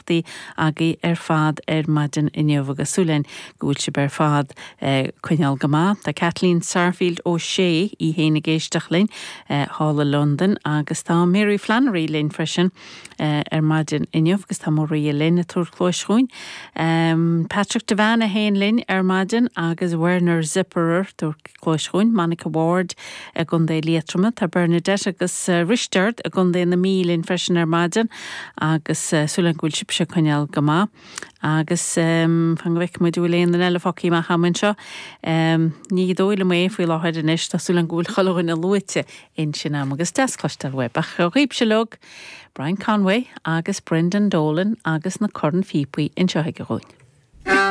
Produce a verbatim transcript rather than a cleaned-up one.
éisteachtaí agaibh ar fad ar maidin inniu agus súil againn go bhfuil sibh ar fad eh, coinneáil go maith. Tá Kathleen Sarfield ó sé í héin ag éisteacht linn eh, thall i Londain agus tá Mary Flannery linn freisin eh, ar maidin inniu agus tá Maria linn ag tabhairt cluas chugainn. Um, Patrick Devane a haon linn ar maidin agus Werner Zipperer tabhairt cluas chugainn, Monica Ward i gContae Liatroma, tá Bernadette agus uh, Risteard i gContae na Mí linn freisin ar maidin agus uh, súil go bhfuil sibhse coinneáil go maith. Agus um, fan go bhfuil muid bhfuil aon eile fágtha amach agam anseo. Um, ní dóigh liom é faoi láthair anois tá súil go bhfuil chuile dhuine luaite ansin agam agus deas cloisteáil uaibh ach dhaoibhse uilig, Brian Conway agus Brendan Dolan agus na cornphíopaí anseo chugainn.